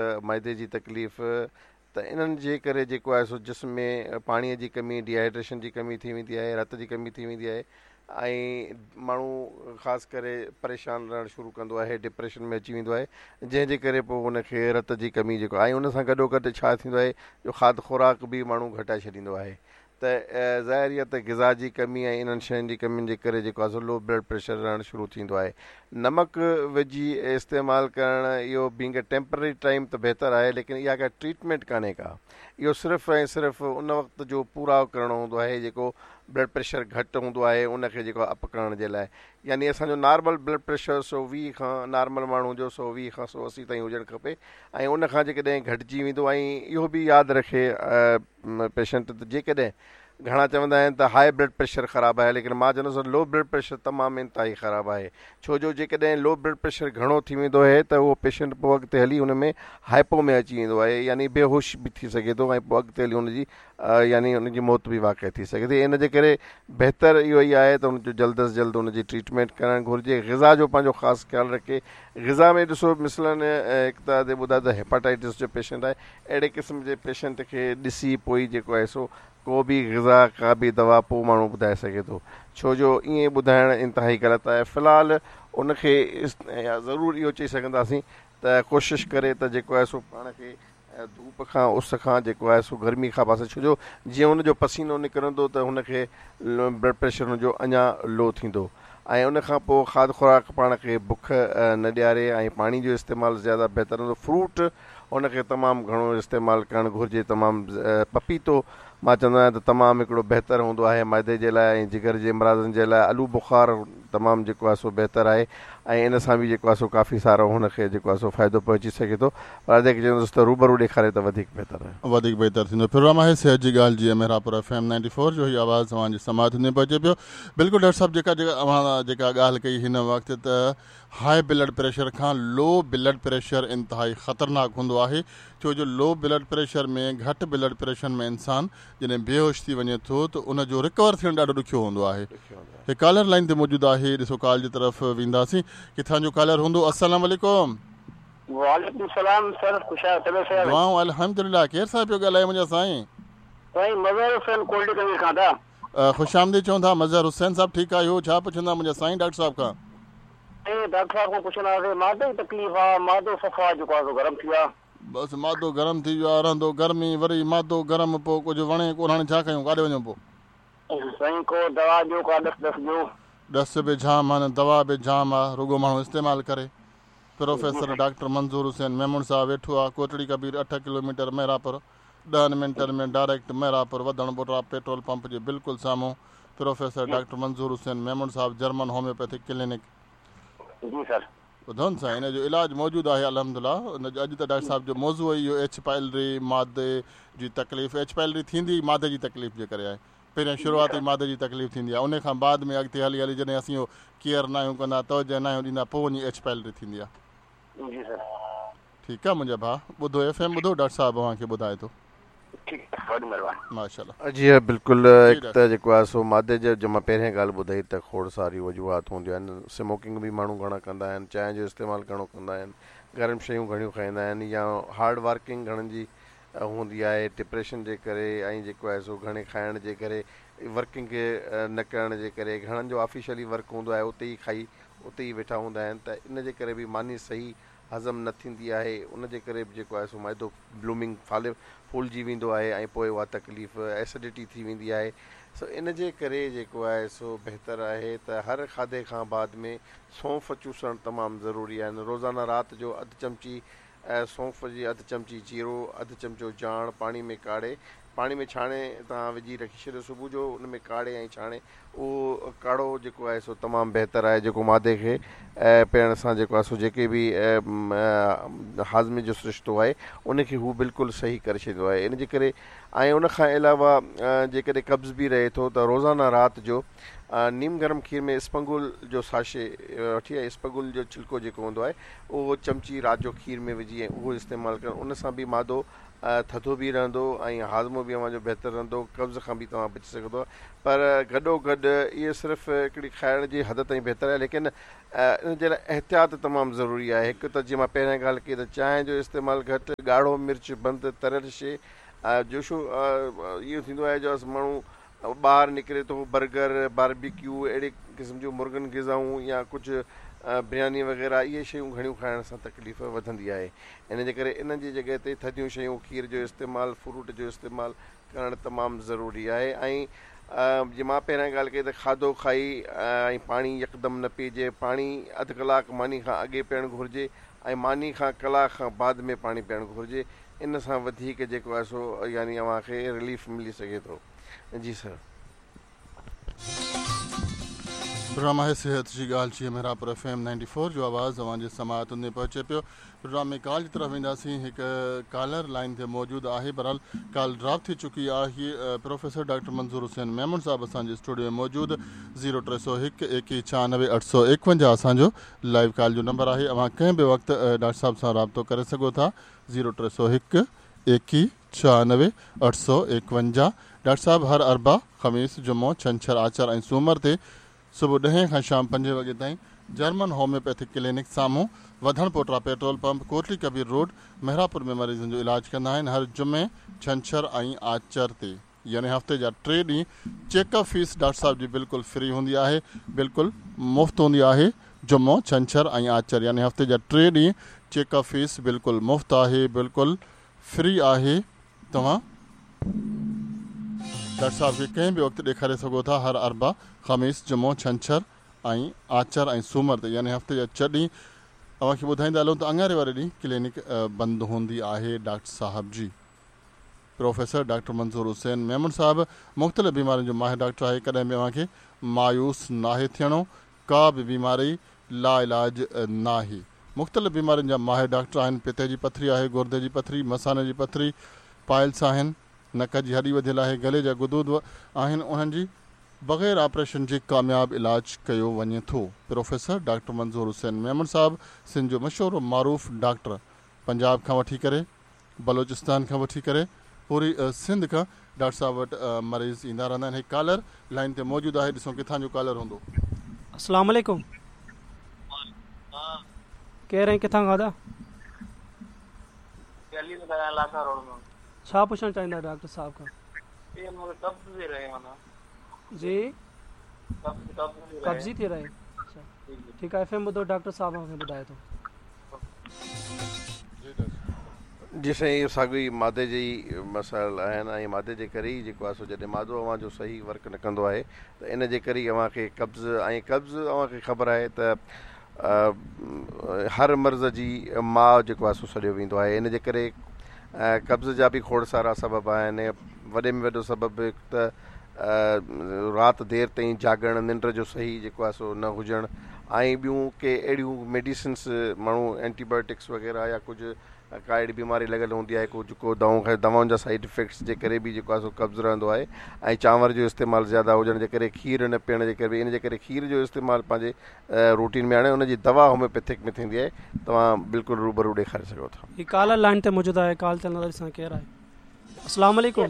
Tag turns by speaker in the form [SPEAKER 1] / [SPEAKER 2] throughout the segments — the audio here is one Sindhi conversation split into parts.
[SPEAKER 1] معدي جي تڪليف ته انهن جي ڪري جيڪو آهي سو جسم ۾ پاڻي جي ڪمي ڊيهائيڊريشن جي ڪمي ٿي ويندي آهي رت جي ڪمي ٿي ويندي آهي ۽ ماڻهو خاص ڪري پريشان رهڻ شروع ڪندو آهي ڊپريشن ۾ اچي ويندو آهي جنهن جي ڪري پوء ان کي رت جي ڪمي جيڪو آهي ان سان گڏو گڏ ڇا ٿيندو آهي جو کاڌ خوراڪ به ماڻهو گهٽائي ڇڏيندو آهي ته ظاهر آهي ته غذا جي ڪمي ۽ انهن شين جي ڪمين جي ڪري جيڪو آهي سو لو بلڊ پريشر رهڻ شروع ٿيندو آهي. نمڪ وجهي استعمال ڪرڻ اهو بينگ اي ٽيمپرري ٽائيم ته بهتر آهي ليڪن اها ڪا ٽريٽمينٽ ڪانهي ڪا. اهو صرف ۽ صرف ان وقت جو پورائو ڪرڻو هوندو آهي جيڪو بلڊ پريشر گهٽ هوندو آهي ان کي جيڪو اپ ڪرڻ جي لاء يعني اسان جو نارمل بلڊ پريشر 120 کان نارمل ماڻهو جو 120 کان 180 تائين هجڻ کپي ۽ ان کان جيڪڏهن گهٽجي ويندو ۽ اهو به ياد رکي پيشنٽ ته جيڪڏهن گهڻا چوندا آهن ته هاء بلڊ پريشر خراب آهي ليڪن مان چوندس لو بلڊ پريشر تمام انتهائي خراب آهي ڇو جو جيڪڏهن لو بلڊ پريشر گهڻو ٿي ويندو آهي ته اهو پيشنٽ پوء اڳتي هلي ان ۾ هائپو ۾ اچي ويندو آهي يعني بيهوش به ٿي سگهي ٿو ۽ پوء اڳتي هلي ان جي يعني ان جي موت به واقع ٿي سگهي ٿي ان جي ڪري بهتر اهو ئي آهي ته ان جو جلد از جلد ان جي ٽريٽمينٽ ڪرڻ گهرجي غذا جو پنهنجو خاص خيال رکي غذا ۾ ڏسو مثلاً هڪ ته ادي ٻڌايو ته هيپاٽائٽس جو پيشنٽ آهي اهڙي قسم جي پيشنٽ کي ڏسي پوء ئي جيڪو آهي سو ڪو به غذا ڪا به دوا پوء ماڻهو ٻڌائي سگهي ٿو ڇو جو ائين ٻڌائڻ انتهائي غلط آهي في الحال ان کي ضرور اهو چئي سگهنداسين ته ڪوشش ڪري ته جيڪو آهي سو پاڻ کي ڌوپ کان اس کان جيڪو آهي سو گرمي کان پاسي ڇو جو جيئن هن جو پسينو نڪرندو ته هن کي بلڊ پريشر هن جو اڃا لو ٿيندو ۽ ان کان پوء کاڌ خوراڪ پاڻ کي بک نه ڏياري ۽ پاڻي جو استعمال زياده بهتر هوندو فروٽ ان کي تمام گهڻو استعمال ڪرڻ گهرجي تمام پپيتو مان چوندو آهيان ته تمام هڪڙو بهتر هوندو آهي معدي جي لاء ۽ جگر جي امراضن جي لاء آلو بخار تمام جيڪو آهي سو بهتر آهي ۽ ان سان به جيڪو آهي سو ڪافي سارو هن کي جيڪو آهي سو فائدو پهچي سگهي ٿو پر ادي کي چوندس ته روبرو ڏيکاري ته وڌيڪ بهتر آهي.
[SPEAKER 2] وڌيڪ بهتر ٿيندو. پروگرام آهي صحت جي ڳالهه جي Mehrabpur F M ninety four جو هي آواز اوهان جي سماعتن تائين پهچي پيو. بلڪل ڊاڪٽر صاحب جيڪا جيڪا اوهان جيڪا ڳالهه ڪئي هن وقت ته هاء بلڊ پريشر کان لو بلڊ پريشر انتهائي خطرناڪ هوندو آهي ڇو جو لو بلڊ پريشر ۾ گهٽ بلڊ پريشر ۾ انسان جڏهن بيهوش ٿي وڃي ٿو ته ان جو رڪور ٿيڻ ڏاڍو ڏکيو هوندو آهي هڪ ڪالر لائين تي موجود آهي ڏسو ڪال جي طرف وينداسين ڪٿان جو ڪالر هوندو السلام عليڪم.
[SPEAKER 3] وعليڪم السلام سر خوش آهيو طبيعت صحيح آهي.
[SPEAKER 2] دعائون الحمدلله ڪير صاحب پيو ڳالهائي منهنجا سائين.
[SPEAKER 3] سائين مظهر حسين ڪولڊي ڪنگري کان ٿا.
[SPEAKER 2] خوش آمديد چون ٿا مظهر حسين صاحب ٺيڪ آهيو ڇا پڇندا منهنجا سائين ڊاڪٽر صاحب کان.
[SPEAKER 3] سائين ڊاڪٽر صاحب کان پڇندا هئاسين معدي جي تڪليف آ معدو صفا جيڪو آ سو گرم ٿي ويو آ.
[SPEAKER 2] بس معدو گرم ٿي ويو آ رهندو گرمي وري معدو گرم پو ڪجهه وڻي ڪونه هاڻي ڇا ڪيون ڪاڏي وڃون پو.
[SPEAKER 3] سائين ڪو دوا ڏيو ڪا ڏس ڏس ڏيو.
[SPEAKER 2] ڏس به جام آهن دوا به جام آ رڳو ماڻهو استعمال ڪري. پروفيسر ڊاڪٽر منظور حسين ميمڻ صاحب ويٺو آ ڪوٽڙي ڪبير اٺ ڪلوميٽر مهراپور ڏهن منٽن ۾ ڊائريڪٽ مهراپور وڌڻ ٻوٽا پيٽرول پمپ جي بلڪل سامهون پروفيسر ڊاڪٽر منظور حسين ميمڻ صاحب جرمن هوميوپيٿڪ ڪلينڪ.
[SPEAKER 3] جي سر.
[SPEAKER 2] ٻڌو نه سائين ان جو علاج موجود آهي الحمدلله ان جو اڄ ته ڊاڪٽر صاحب جو موضوع ئي اهو ايڇ پائلري معدي جي تڪليف ايڇ پائلري ٿيندي ئي معدي جي تڪليف جي ڪري آهي پهريان شروعات ئي معدي جي تڪليف ٿيندي آهي ان کان بعد ۾ اڳتي هلي هلي جڏهن اسين اهو ڪيئر ناهيون ڪندا توجه ناهيون ڏيندا پوء وڃي ايڇ پائلري ٿيندي آهي.
[SPEAKER 3] جي سر.
[SPEAKER 2] ٺيڪ آ منهنجا ڀاء ٻڌو ايف ايم ٻڌو ڊاڪٽر صاحب اوهان کي ٻڌائي ٿو.
[SPEAKER 3] ٺيڪ آ وڏي مھرباني.
[SPEAKER 2] ماشاءالله.
[SPEAKER 1] جي ها بلڪل
[SPEAKER 2] جي
[SPEAKER 1] هڪ
[SPEAKER 2] ڊاڪٽر
[SPEAKER 1] ته
[SPEAKER 2] صاحب.
[SPEAKER 1] جيڪو آهي سو معدي جي جو مان پهرين ڳالهه ٻڌائي ته کوڙ ساريون وجوهات هونديون آهن سموڪنگ به ماڻهو گهڻا ڪندا آهن چانهه جو استعمال گهڻو ڪندا آهن گرم شيون گهڻيون کائيندا آهن يا هارڊ ورڪنگ گهڻن جي هوندي آهي ڊپريشن جي ڪري ۽ جيڪو آهي سو گهڻي کائڻ جي ڪري ورڪنگ نه ڪرڻ جي ڪري گهڻن جو آفيشلي ورڪ هوندو آهي اتي ئي کائي اتي ئي ويٺا هوندا آهن ته ان جي ڪري به ماني صحيح هضم نه ٿيندي آهي ان جي ڪري به جيڪو آهي سو معدو بلومنگ ڦالي ڦولجي ويندو آهي ۽ پوء اها تڪليف ايسڊٽي ٿي ويندي آهي سو ان جي ڪري جيڪو آهي سو بهتر آهي ته هر کاڌي کان بعد ۾ سونف چوسڻ تمام ضروري آهن روزانه رات جو اڌ چمچي سونف جي اڌ چمچي جيرو اڌ چمچو جاڻ پاڻي ۾ ڪاڙهي پاڻي ۾ ڇاڻي توهان وجهي رکي ڇڏيو صبح جو ان ۾ ڪاڙهي ۽ ڇاڻي اهو ڪاڙهو جيڪو آهي سو تمام بهتر آهي جيڪو معدي کي پيئڻ سان جيڪو آهي سو جيڪي به هاضمي جو سرشتو آهي ان کي هو بلڪل صحيح ڪري ڇڏيندو آهي ان جي ڪري ۽ ان کان علاوه جيڪڏهن قبض به رهي ٿو ته روزانه رات جو نيم گرم کير ۾ اسپنگول جو ساشي وٺي ۽ اسپغول جو ڇلڪو جيڪو هوندو آهي اهو چمچي رات جو کير ۾ وجهي ۽ اهو استعمال ڪرڻ ان سان به معدو ٿڌو به رهندو ۽ هاضمو به به اوهان جو بهتر رهندو، قبض کان به توهان بچي سگهندو پر گڏو گڏ اهي صرف هڪڙي کائڻ جي حد تائين بهتر آهي ليڪن ان جي لاء احتياط تمام ضروري آهي. هڪ ته جيئن مان پهريان ڳالهه ڪئي ته چانهه جو استعمال گهٽ، ڳاڙهو مرچ بند، تريل شيء جوشو اهو ٿيندو آهي جو ماڻهو ٻاهر نڪري ٿو برگر، باربيڪيو اهڙي قسم جون مرغن غذائون يا ڪجهه برياني وغيره اهي شيون گهڻيون کائڻ سان تڪليف وڌندي آهي ان جي ڪري انهن جي جڳهه تي ٿڌيون شيون کير جو استعمال فروٽ جو استعمال ڪرڻ تمام ضروري آهي ۽ جيئن مان پهريان ڳالهه ڪئي ته کاڌو کائي ۽ پاڻي يڪدم نه پيئجي پاڻي اڌ ڪلاڪ ماني کان اڳي پيئڻ گهرجي ۽ ماني کان ڪلاڪ کان بعد ۾ پاڻي پيئڻ گهرجي ان سان وڌيڪ جيڪو آهي سو يعني اوهان کي رليف ملي سگهي ٿو جي سر.
[SPEAKER 2] پروگرام آهي صحت جي ڳالهه جي مهراپور ايف ايم 94 جو آواز اوهان جي سماعتن تائين پهچي پيو پروگرام ۾ ڪال جي طرف وينداسين هڪ ڪالر لائين تي موجود آهي بهرحال ڪال ڊراپ ٿي چڪي آهي پروفيسر ڊاڪٽر منظور حسين ميمڻ صاحب اسان جي اسٽوڊيو ۾ موجود زيرو 301 21 96 851 اسان جو لائيو ڪال جو نمبر آهي اوهان ڪنهن به وقت ڊاڪٽر صاحب سان رابطو ڪري سگهو ٿا زيرو 301 21 96 851 ڊاڪٽر صاحب هر اربع، خميس، جمعو، ڇنڇر، آچر ۽ سومر تي صبح ڏهين کان شام پنجين وڳي تائين جرمن هوميوپيٿڪ ڪلينڪ سامهون وڌڻ پوٽرا petrol pump Kotli Kabir road Mehrapur ۾ مريضن جو علاج ڪندا آهن هر جمعي، ڇنڇر ۽ آچر تي يعني هفتي جا ٽي ڏينهن چيڪ اپ فيس ڊاڪٽر صاحب جي بلڪل فري هوندي آهي بلڪل مفت هوندي آهي جمعو، ڇنڇر ۽ آچر يعني هفتي جا ٽي ڏينهن چيڪ اپ فيس بلڪل مفت آهي بلڪل فري آهي توهان ڊاڪٽر صاحب کي ڪنهن به وقت ڏيکاري سگهو ٿا هر اربع، خميس، جمعو، ڇنڇر ۽ آچر ۽ سومر تي يعني هفتي جا چه ڏينهن اوهان کي ٻڌائيندا هلون ته اڱاري واري ڏينهن ڪلينڪ بند هوندي آهي ڊاڪٽر صاحب جي. پروفيسر ڊاڪٽر منظور حسين ميمڻ صاحب مختلف بيمارين جو ماهر ڊاڪٽر آهي ڪڏهن به اوهان کي مايوس ناهي ٿيڻو ڪا به بيماري لاعلاج ناهي مختلف بيمارين جا ماهر ڊاڪٽر آهن پتي جي پٿري آهي گردي جي پٿري مثاني جي پٿري پائلس آهن نڪ جي هڏي وڌيل آهي گلي جا غدود آهن انهن جي بغير آپريشن جي ڪامياب علاج ڪيو وڃي ٿو پروفيسر ڊاڪٽر منظور حسين ميمڻ صاحب سنڌ جو مشهور و معروف ڊاڪٽر پنجاب کان وٺي ڪري بلوچستان کان وٺي ڪري پوري سنڌ کان ڊاڪٽر صاحب وٽ مريض ايندا رهندا آهن هڪ ڪالر لائين تي موجود آهي ڏسون ڪٿان جو ڪالر هوندو.
[SPEAKER 4] السلام عليڪم ڪير ۽ ڪٿان کان ادا؟ ڇا پڇڻ چاهيندا ڊاڪٽر صاحب کان؟ جي قبضي ٿي رهي اڇا ٺيڪ آهي ايف ايم ٻڌو ڊاڪٽر صاحب اوهان کي ٻڌائي ٿو.
[SPEAKER 1] جي سائين اهو ساڳيو ئي معدي جي ئي مسائل آهن ۽ معدي جي ڪري ئي جيڪو آهي سو جڏهن معدو اوهان جو صحيح ورڪ نه ڪندو آهي ته ان جي ڪري ئي اوهان کي قبض ۽ قبض اوهان کي خبر آهي ته هر مرض جي ماء جيڪو آهي سو سڏيو ويندو آهي ان جي ڪري قبض جا به کوڙ سارا سبب آهن وڏي ۾ وڏو سبب هڪ ته رات دير تائين جاڳڻ ننڊ جو صحيح جيڪو آهي سو نه هجڻ ۽ ٻيون ڪي اهڙيون ميڊيسنس ماڻهو اينٽي بايوٽڪس وغيره يا ڪجهه ڪا اهڙي بيماري لڳل هوندي آهي ڪجهه ڪو دوائون کائي دوائن جا سائيڊ افيڪٽس جي ڪري به جيڪو آهي سو قبض رهندو آهي ۽ چانور جو استعمال زياده هجڻ جي ڪري کير نه پيئڻ جي ڪري به ان جي ڪري کير جو استعمال پنهنجي روٽين ۾ آڻي ان جي دوا هوميوپيٿڪ ۾ ٿيندي آهي توهان بلڪل روبرو ڏيکاري سگهو ٿا.
[SPEAKER 4] هي ڪالر لائين تي موجود آهي ڪال تي هلنداسين ڏسان ڪير آهي. السلام عليڪم.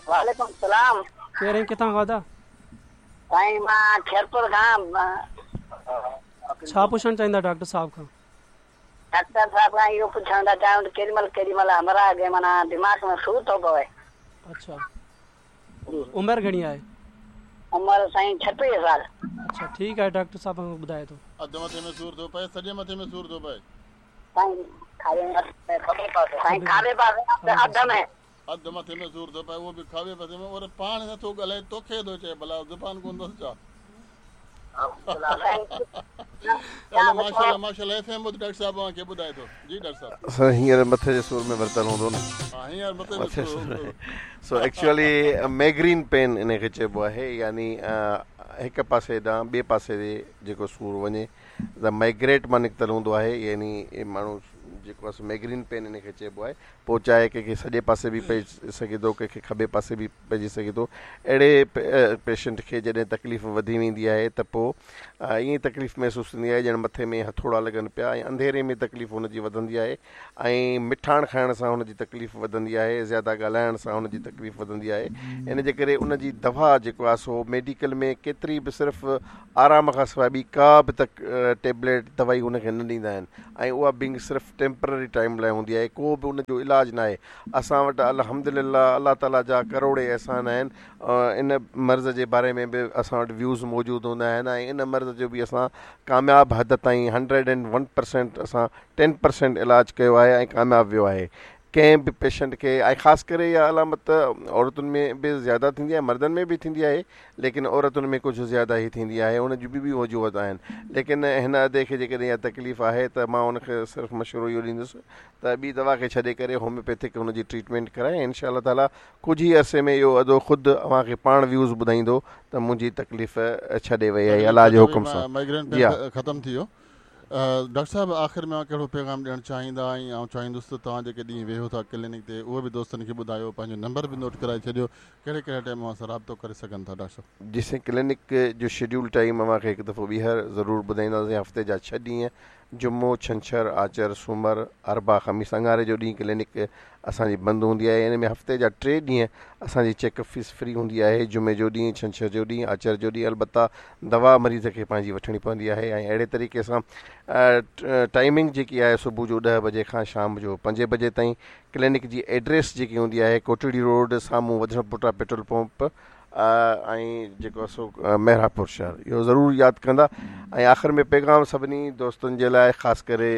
[SPEAKER 5] وعليڪم السلام.
[SPEAKER 4] ڪير ۽ ڪٿان کان ادا؟
[SPEAKER 5] سائين مان خيرپور کان.
[SPEAKER 4] ڇا پڇڻ چاهيندا ڊاڪٽر صاحب کان؟
[SPEAKER 5] ڊاڪٽر صاحب کان اهو پڇڻ ٿا چاهيون ته ڪيڏي مهل ڪيڏي مهل همراهه کي معنيٰ دماغ ۾ سور ٿو پوي.
[SPEAKER 4] اڇا عمر گهڻي آهي؟
[SPEAKER 5] عمر سائين 36 سال.
[SPEAKER 4] اڇا ٺيڪ آهي ڊاڪٽر صاحب اوهان کي ٻڌائي ٿو.
[SPEAKER 2] اڌ مٿي ۾ سور ٿو پئي سڄي مٿي ۾ سور ٿو پئي.
[SPEAKER 5] سائين کاٻي پاسي اڌ ۾.
[SPEAKER 2] اڌ مٿي ۾ سور ٿو پئي اهو به کاٻي پاسي ۾ اور پاڻ نه ٿو ڳالهائي توکي ٿو چئي ڀلا زبان ڪونه اٿس ڇا. هلو ماشاءالله ماشاءالله ايف ايم ٻڌ ڊاڪٽر صاحب اوهان کي ٻڌائي ٿو جي ڊاڪٽر صاحب.
[SPEAKER 1] سر هينئر مٿي جي سور ۾ ورتل هوندو نه.
[SPEAKER 2] ها هينئر مٿي ۾ سور هوندو.
[SPEAKER 1] سو ايڪچوئلي ميگرين پين ان کي چئبو آهي يعني هڪ پاسي ڏانهن ٻئي پاسي جيڪو سور وڃي ته مائگريٽ مان نڪتل هوندو آهي يعني ماڻهو جيڪو آهي سو ميگرين پين ان کي چئبو آهي پوء چاهي ڪنهن کي سڄي پاسي به پئجي سگهي ٿو ڪنهن کي کٻي پاسي به پئجي سگهي ٿو اهڙي پيشنٽ کي جڏهن تڪليف وڌي ويندي آهي ته پوء ائين تڪليف محسوس ٿيندي آهي ڄڻ مٿي ۾ هٿوڙا لڳن پيا ۽ انڌيري ۾ تڪليف هن جي وڌندي آهي ۽ مٺاڻ کائڻ سان هن جي تڪليف وڌندي آهي زياده ڳالهائڻ سان هن جي تڪليف وڌندي آهي ان جي ڪري ان جي دوا جيڪو آهي سو ميڊيڪل ۾ ڪيتري به صرف آرام کان سواء ٻي ڪا به تڪ ٽيبليٽ دوائي هن کي نه ڏيندا آهن ۽ اها بنگ صرف ٽيمپرري ٽائيم لاء هوندي آهي ڪو به ان جو علاج ناهي اسان وٽ الحمدلله الله تعالي جا ڪروڙين احسان آهن ان مرض جي باري ۾ به اسان وٽ ويوز موجود هوندا آهن ۽ ان مرض جو به اسان ڪامياب حد تائين 101% اسان 10% علاج ڪيو آهي ۽ ڪامياب ويو آهي ڪنهن به پيشنٽ کي ۽ خاص ڪري اها علامت عورتن ۾ به زياده ٿيندي آهي مردن ۾ به ٿيندي آهي ليڪن عورتن ۾ ڪجهه زياده ئي ٿيندي آهي ان جون ٻيون به وجوهات آهن ليڪن هن ادي کي جيڪڏهن اها تڪليف آهي ته مان ان کي صرف مشورو اهو ڏيندس ته ٻي دوا کي ڇڏي ڪري هوميوپيٿڪ هن جي ٽريٽمينٽ ڪرائي ۽ انشاء الله تعالي ڪجهه ئي عرصي ۾ اهو ادو خود اوهان کي پاڻ ويوز ٻڌائيندو ته منهنجي تڪليف ڇڏي وئي آهي
[SPEAKER 2] تڪليف
[SPEAKER 1] الله جي
[SPEAKER 2] ڇڏي وئي
[SPEAKER 1] حڪم سان
[SPEAKER 2] مائگرين
[SPEAKER 1] جي
[SPEAKER 2] پين
[SPEAKER 1] ها.
[SPEAKER 2] ختم ٿي ويو. ڊاڪٽر صاحب آخر ۾ اوهان ڪهڙو پيغام ڏيڻ چاهيندا ۽ آئون چاهيندس ته توهان جيڪي ڏينهن ويهو ٿا ڪلينڪ تي اهو به دوستن کي ٻڌايو پنهنجو نمبر به نوٽ ڪرائي ڇڏيو ڪهڙي ڪهڙي ٽائيم اوهان سان رابطو ڪري سگهن ٿا ڊاڪٽر صاحب.
[SPEAKER 1] جي سائين ڪلينڪ جو شيڊيول ٽائيم اوهان کي هڪ دفعو ٻيهر ضرور ٻڌائينداسين هفتي جا ڇهه ڏينهن جمعو، ڇنڇر، آچر، سومر، اربع، خميس، اڱاري جو ڏينهن ڪلينڪ اسان جي بند هوندي آهي ان ۾ هفتي جا ٽي ڏينهن اسان جي چيڪ اپ فيس فري هوندي آهي جمعي جو ڏينهن، ڇنڇر جو ڏينهن، آچر جو ڏينهن البته دوا مريض کي پنهنجي وٺڻي پوندي آهي ۽ اهڙي طريقي سان ٽائيمنگ جيڪي آهي صبح جو ڏهه بجي کان شام جو پنجين بجي تائين ڪلينڪ جي ايڊريس جيڪي هوندي آهي ڪوٽڙي روڊ سامهون وڌڻ پٽا پيٽرول پمپ ۽ جيڪو سو محرابپور شهر اهو ضرور ياد ڪندا ۽ آخر ۾ پيغام سڀني دوستن جي لاء خاص ڪري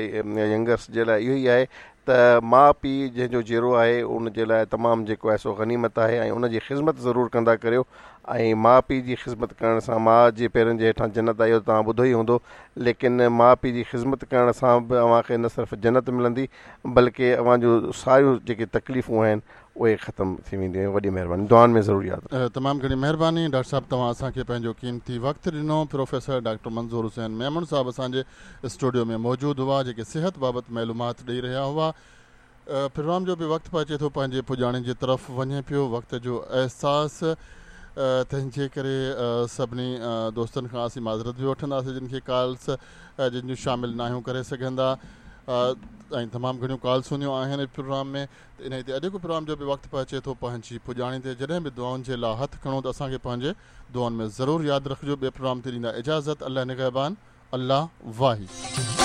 [SPEAKER 1] ينگرس جي لاء اهو ئي آهي ته ماء پيء جنهن جو جيئرو آهي ان جي لاء تمام جيڪو آهي سو غنيمت آهي ۽ ان جي خذمت ضرور ڪندا ڪريو ۽ ماء پيء جي خذمت ڪرڻ سان ماء جي پيرن جي هيٺان جنت آهي اهو توهان ٻڌو ئي هوندو ليڪن ماء پيء جي خذمت ڪرڻ سان به اوهان کي نه صرف جنت ملندي بلڪه اوهان جون ساريون جيڪي تڪليفون آهن اهي ختم ٿي وينديون وڏي مهرباني دعائن ۾ ضرور ياد رکجو.
[SPEAKER 2] تمام گهڻي مهرباني ڊاڪٽر صاحب توهان اسان کي پنهنجو قيمتي وقت ڏنو پروفيسر ڊاڪٽر منظور حسين ميمڻ صاحب اسان جي اسٽوڊيو ۾ موجود هئا جيڪي صحت بابت معلومات ڏئي رهيا هئا پروگرام جو به وقت پهچي ٿو پنهنجي پڄاڻي جي طرف وڃي پيو وقت جو احساس تنهن جي ڪري سڀني دوستن کان اسين معذرت به وٺنداسين جن کي ڪالس جن جون شامل ناهيون ڪري سگهندا ۽ تمام گهڻيون ڪالس هونديون آهن پروگرام ۾ ته انهي تي اڄوڪو پروگرام جو به وقت پهچي ٿو پنهنجي پڄاڻي تي جڏهن به دعائن جي لا هٿ کڻو ته اسان کي پنهنجي دعائن ۾ ضرور ياد رکجو ٻئي پروگرام تي ڏيندا اجازت الله نگهبان الله واهي.